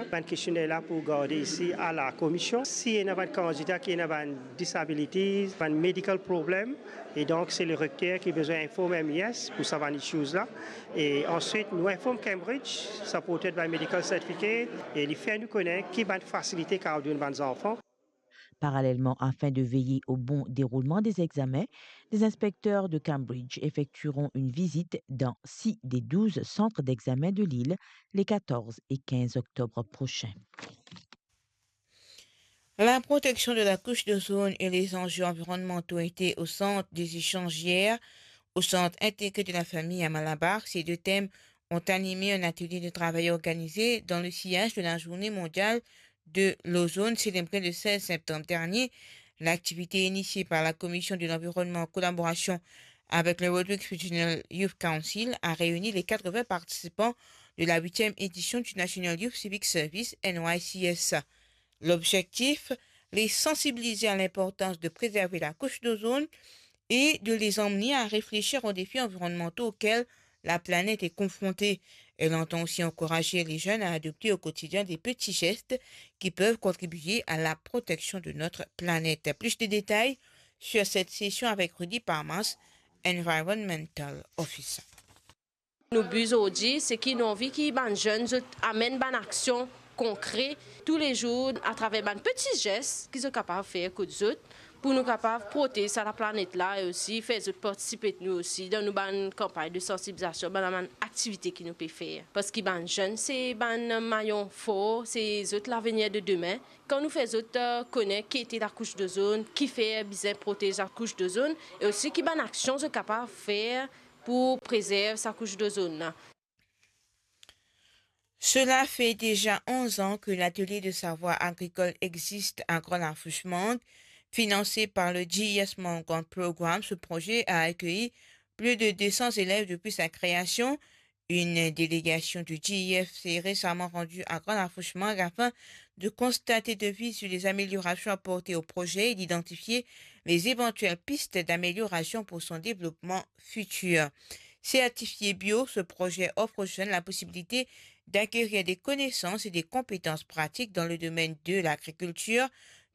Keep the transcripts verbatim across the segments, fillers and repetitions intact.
Bann kestionner la pou garde isi a la komision. Si ena bann kandida ki ena bann disabilities, bann medical problem, e donk se le rekter ki bizin inform M I S pou sa bann issues la. E answit, nou inform Cambridge, supported by medical certificate, e li fer nou kone ki bann fasilite kapav donn bann zanfan. Parallèlement, afin de veiller au bon déroulement des examens, les inspecteurs de Cambridge effectueront une visite dans six des douze centres d'examen de l'île les quatorze et quinze octobre prochains. La protection de la couche d'ozone et les enjeux environnementaux étaient au centre des échanges hier au Centre intégré de la famille à Malabar. Ces deux thèmes ont animé un atelier de travail organisé dans le sillage de la Journée mondiale de l'ozone célébrée le seize septembre dernier. L'activité initiée par la Commission de l'Environnement en collaboration avec le Rodrigues Regional Youth Council a réuni les quatre-vingts participants de la huitième édition du National Youth Civic Service, N Y C S. L'objectif, les sensibiliser à l'importance de préserver la couche d'ozone et de les emmener à réfléchir aux défis environnementaux auxquels la planète est confrontée. Elle entend aussi encourager les jeunes à adopter au quotidien des petits gestes qui peuvent contribuer à la protection de notre planète. Plus de détails sur cette session avec Rudy Parmas, Environmental Officer. Nou bi zordi, se ki nou anvi ki bann zenn, zot amenn bann aksion konkre toulezour atraver bann peti zes ki zot kapav fer kot zot, pou nou kapav protez sa laplanet la e osi fer zot partisipe nou osi dan nou bann kanpagn de sansibilizasion, bann, bann aktivite ki nou pe fer. Parski bann zenn, se bann mayon for, se zot lavenir de demin. Kan nou fer zot, eh, kone ki ete lakous dozonn, kifer bizin protez lakous dozonn, e osi ki bann aksion zot kapav fer pou prezerv sa kous dozonn la. Cela fait déjà onze ans que l'atelier de savoir agricole existe à Grand Larfouch Mangue. Financé par le G E S Mangue Grant Programme, ce projet a accueilli plus de deux cents élèves depuis sa création. Une délégation du G E S s'est récemment rendue à Grand Larfouch Mangue afin de constater de visu les améliorations apportées au projet et d'identifier les éventuelles pistes d'amélioration pour son développement futur. Certifié bio, ce projet offre aux jeunes la possibilité d'acquérir des connaissances et des compétences pratiques dans le domaine de l'agriculture,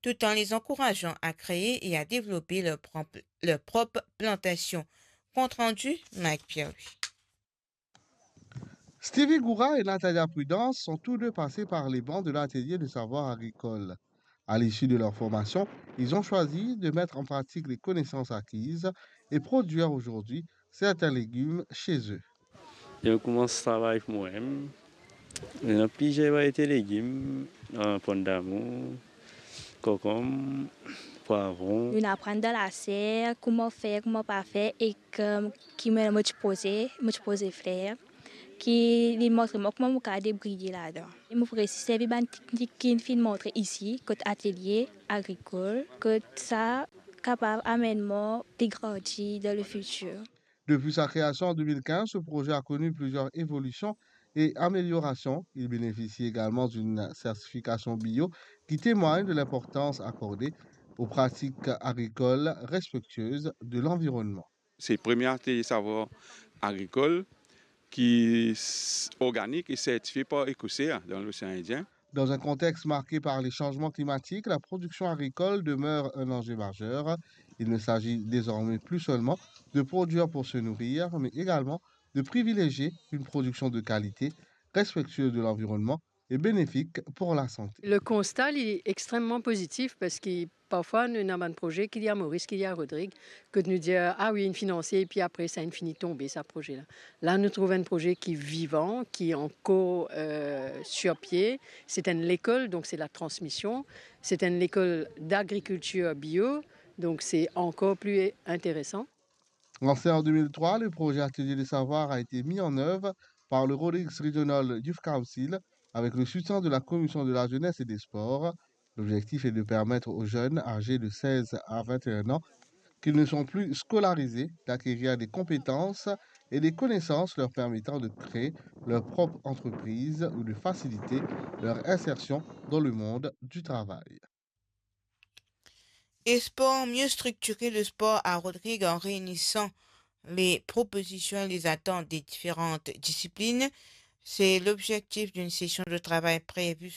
tout en les encourageant à créer et à développer leur propre, leur propre plantation. Compte rendu, Mike Pierre-Louis. Stevie Goura et Natalia Prudence sont tous deux passés par les bancs de l'atelier de savoir agricole. À l'issue de leur formation, ils ont choisi de mettre en pratique les connaissances acquises et produire aujourd'hui certains légumes chez eux. Li koumans travay pou mwa mem. Li ena plizier variete legim, ah, pondamour, konkonm, pwavron. Nou aprann dan laser, kouma fer, kouma pa fer, ek, eh, ki mo, mo ti poze, mo ti poze fler, ki li montre mwa kouma mo kapav debriye ladan. E mo pou resi servi bann teknik ki finn montre isi, kot atelier agrikol, kot sa kapav amenn mwa pli grandi dan le fitir. Depuis sa création en deux mille quinze, ce projet a connu plusieurs évolutions et améliorations. Il bénéficie également d'une certification bio qui témoigne de l'importance accordée aux pratiques agricoles respectueuses de l'environnement. Se premie atelier savoir agrikol ki s-, organik e sertifie par EcoSea dan Losean Indien. Dans un contexte marqué par les changements climatiques, la production agricole demeure un enjeu majeur. Il ne s'agit désormais plus seulement de produire pour se nourrir, mais également de privilégier une production de qualité, respectueuse de l'environnement et bénéfique pour la santé. Le constat, il est extrêmement positif parce que parfois, nou ena bann proze ki li a Maurice, ki li a Rodrigue, kot nou dir, ah oui, inn finanse, epi apre sa, inn fini tonbe, sa proze la. La, nou trouv enn proze ki vivan, ki ankor, euh, sur pie. Se enn lekol, donk se la transmision. Se enn lekol d'agrikiltir bio, donk se ankor pli enteresan. Lancé en deux mille trois, le projet Atelier des Savoirs a été mis en œuvre par le Rodrigues Regional Youth Council avec le soutien de la Commission de la Jeunesse et des Sports. L'objectif est de permettre aux jeunes âgés de seize à vingt et un ans qui ne sont plus scolarisés d'acquérir des compétences et des connaissances leur permettant de créer leur propre entreprise ou de faciliter leur insertion dans le monde du travail. Esport, mieux structurer le sport à Rodrigues en réunissant les propositions et les attentes des différentes disciplines. C'est l'objectif d'une session de travail prévue ce